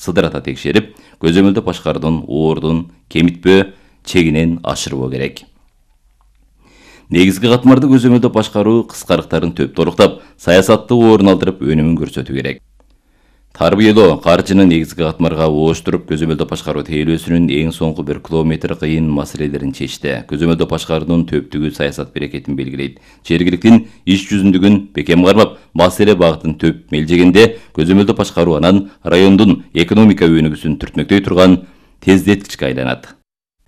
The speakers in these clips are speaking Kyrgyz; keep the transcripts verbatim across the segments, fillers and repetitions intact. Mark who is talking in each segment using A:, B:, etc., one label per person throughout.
A: сыдырата текшерип, көзөмөлдө башкаруудун оордун кемитпөө чегинен ашырбоо керек. Негизги катмарды көзөмөлдө башкаруу кыскарыктарын төп толуктап, саясатты орун алдырып өнүмүн көрсөтүү керек. Тарбиялоо каржыны негизги катмарга ооштуруп, көзөмөлдө башкаруу тейлөөсүнүн эң соңку бир километр кыйын маселелерин чечти. Көзөмөлдө башкаруунун төптүгү саясат берекетин белгилейт. Жергиликтин иш жүзүндүгүн бекем кармап, маселе багытын төп мелжегенде көзөмөлдө башкаруу анан райондун экономика өнүгүүсүн түртмөктөй турган тездеткичке айланат.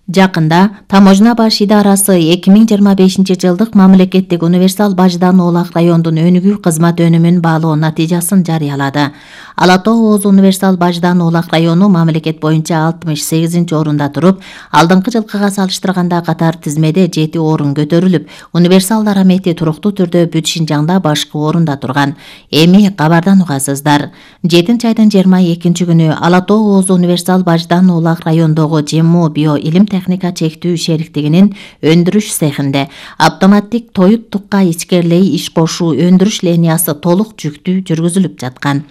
B: Жакында Таможня баш идарасы эки миң жыйырма бешинчи жылдык мамлекеттик универсал баждан оолак райондун өнүгүү кызмат өнүмүн баалоо натыйжасын жарыялады. Ала Тоо Оз универсал баждан оолак району мамлекет боюнча алтымыш сегизинчи орунда туруп, алдыңкы жылкыга салыштырганда катар тизмеде жети орун көтөрүлүп, универсал дарамети туруктуу түрдө бүт Шинжаңда башкы орунда турган. Эми кабардан угасыздар. жетинчи айдын жыйырма экинчи күнү Ала Тоо Оз универсал баждан оолак райондогу Жеммо био илим техника чектүү шериктигинин өндүрүш цехинде автоматтик тоют тукка ичкерлей иш кошуу өндүрүш линиясы толук жүктүү жүргүзүлүп жаткан.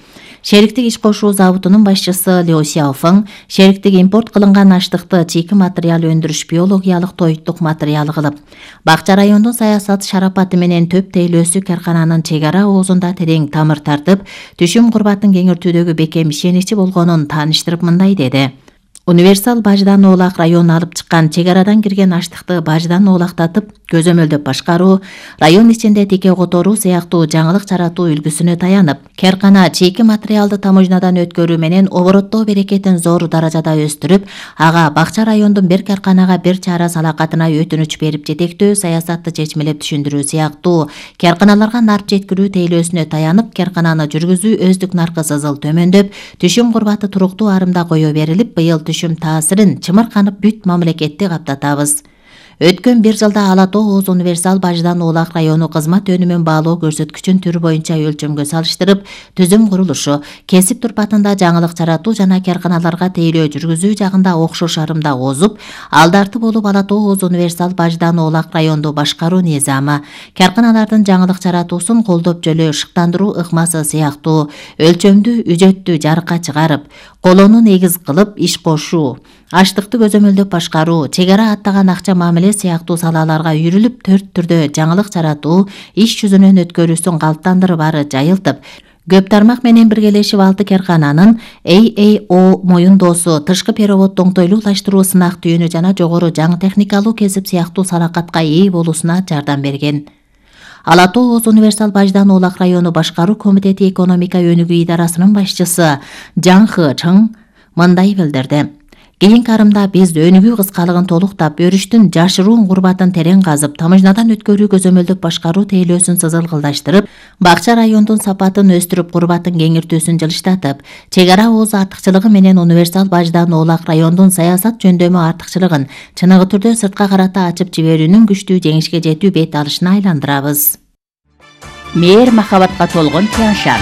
B: Шериктик иш кошуу заводунун башчысы Лио Сяофeng шериктик импорт кылынган аштыкты чийки материал өндүрүш биологиялык тоюттук материалы кылып, Бакча райондун саясат шарапаты менен төп тейлөөсү каркананын чек ара оозунда терең тамыр тартып, түшүм курбатын кеңейтүүдөгү бекем ишеничи болгонун тааныштырып мындай деди. Универсал баждан оолак район алып чыккан чек арадан кирген аштыкты баждан оолактатып, көзөмөлдөп башкаруу, район ичинде тике которуу сыяктуу жаңылык жаратуу үлгүсүнө таянып, каркана чийки материалды таможнядан өткөрүү менен обороттоо берекетин зор даражада өстүрүп, ага Бакча райондун бир карканага бир чара салакатына өтүнүч берип жетектөө саясатты чечмелеп түшүндүрүү сыяктуу карканаларга нарп жеткирүү тейлөөсүнө таянып, каркананы жүргүзүү өздүк наркы сызыл төмөндөп, түшүм курбаты туруктуу арымда кое берилип, быйыл түшүм таасирин чымырканып бүт мамлекетти каптатабыз. Өткөн бир жылда Ала Тоо Оз универсал баждан оолак району кызмат өнүмүн баалоо көрсөткүчүн түр боюнча өлчөмгө салыштырып, түзүм курулушу, кесип турпатында жаңылык жаратуу жана карканаларга тейлөө жүргүзүү жагында окшош арымда озуп, алдарты болуп Ала Тоо Оз универсал баждан оолак районду башкаруу низамы, карканалардын жаңылык жаратуусун колдоп жөлөө шыктандыруу ыкмасы сыяктуу өлчөмдүү үжөттү жарыкка чыгарып, колону негиз кылып иш кошуу, аштыкты көзөмөлдөп башкаруу, чек ара аттаган акча мамиле сыяктуу салаларга үйрүлүп, төрт түрдө жаңылык жаратуу, иш жүзүнөн өткөрүүсүн калыптандырып ары жайылтып, көп тармак менен биргелешип алты каркананын A A O моюндоосу, тышкы переводду оңтойлуулаштыруу, сынак түйүнү жана жогору жаңы техникалуу кесип сыяктуу салакатка ээ болуусуна жардам берген. Ала Тоо Оз универсал баждан оолак району башкаруу комитети экономика өнүгүү идарасынын башчысы Жан Хэ Чың мындай билдирди. Кийинки арымда биз өнүгүү кыскалыгын толуктап, өрүштүн жашыруун курбатын терең казып, таможнядан өткөрүү көзөмөлдөп башкаруу тейлөөсүн сызылгылдаштырып, Бакча райондун сапатын өстүрүп, курбатын кеңиртүүсүн жылыштатып, чек ара ооз артыкчылыгы менен универсал баждан оолак райондун саясат жөндөмү артыкчылыгын чыныгы түрдө сыртка карата ачып жиберүүнүн күчтүү жеңишке жетүү бет алышына айландырабыз.
C: Мээр махабатка толгон Тяншан,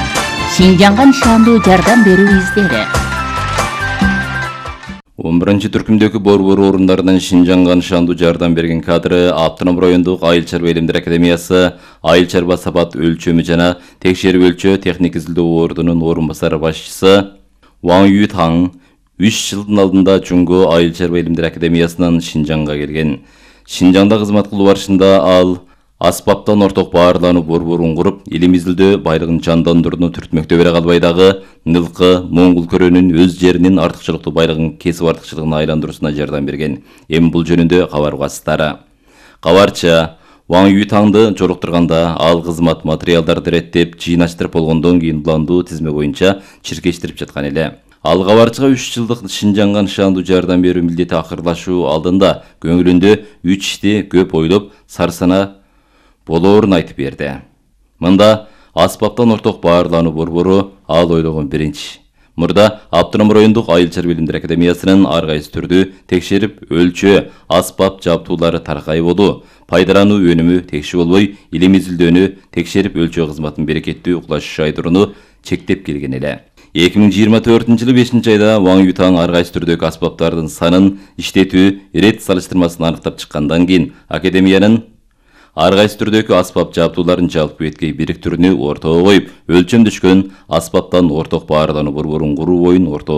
C: Шинжаңга нышандуу жардам берүү издери.
A: он биринчи түркүмдөгү борбор орундарынан Шинжаңга нышандуу жардам берген кадры Автоном райондук Айыл чарба илимдер академиясы айыл чарба сапат өлчөмү жана текшерип өлчөө техник изилдөө ордунун орун басары башчысы Ван Ютаң үч жылдын алдында Жунго айыл чарба илимдер академиясынан Шинжаңга келген. Шинжаңда кызмат кылуу барышында ал аспаптан орток баарлануу борборун куруп, илим изилдөө байлыгын жандандырууну түртмөктөй бере калбай дагы Нылкы, Моңгул көрөнүн өз жеринин артыкчылыктуу байлыгын кесип артыкчылыгына айландыруусуна жардам берген. Эми бул жөнүндө кабар угасыздары. Кабарчы Ван Ютаңды жолуктурганда ал кызмат материалдарды реттеп, жыйнаштырып болгондон кийин уландуу тизме боюнча чиркештирип жаткан эле. Ал кабарчыга үч жылдык Шинжаңга нышандуу жардам берүү милдети акырлашуу алдында көңүлүндө үч ишти көп ойлоп, сарсана болоорун айтып берди. Мында аспаптан орток баарлануу борбору ал ойлогон биринчи. Мурда Автоном райондук айыл чарба илимдер академиясынын ар кайсы түрдүү текшерип өлчөө аспап жабдуулары таркай болуу, пайдалануу өнүмү текши болбой, илим изилдөөнү текшерип өлчөө кызматын берекеттүү укташуу айдырууну чектеп келген эле. эки миң жыйырма төртүнчү жылы бешинчи айда Ван Ютаң ар кайсы түрдөгү аспаптардын санын, иштетүү, рет салыштырмасын аныктап чыккандан кийин академиянын ар кайсы түрдөгү аспап жабдууларын жалпы беткей бириктирүүнү ортого коюп, өлчөм түшкөн аспаптан орток баарлануу борборун куруу боюн ортого